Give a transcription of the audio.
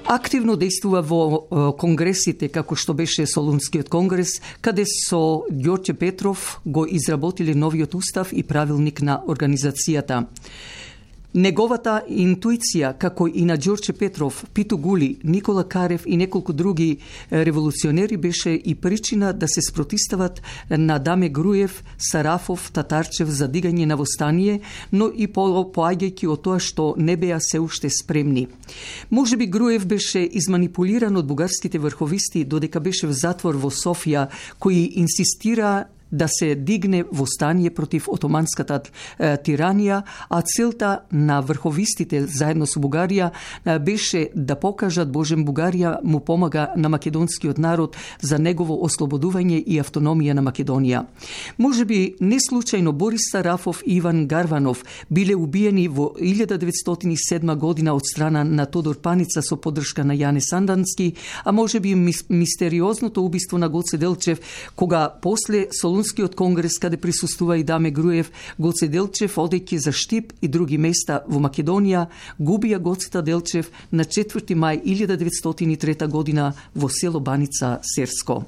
Активно действува во конгресите, како што беше Солунскиот конгрес, каде со Ѓорѓе Петров го изработиле новиот устав и правилник на организацијата. Неговата интуиција, како и на Ѓорѓе Петров, Питу Гули, Никола Карев и неколку други револуционери, беше и причина да се спротистават на Даме Груев, Сарафов, Татарчев за дигање на востание, но и поаѓајќи од тоа што не беа се уште спремни. Можеби Груев беше изманипулиран од бугарските врховисти додека беше в затвор во Софија, кои инсистира да се дигне востание против отоманската тиранија, а целта на врховистите заедно со Бугарија беше да покажат Божем Бугарија му помага на македонскиот народ за негово ослободување и автономија на Македонија. Можеби не случајно Борис Сарафов и Иван Гарванов биле убиени во 1907 година од страна на Тодор Паница со поддршка на Јане Сандански, а можеби мистериозното убиство на Гоце Делчев, кога после Солунскиот конгрес, каде присуствува и Даме Груев, Гоце Делчев, одејќи за Штип и други места во Македонија, губија Гоцета Делчев на 4. мај 1903 година во село Баница Серско.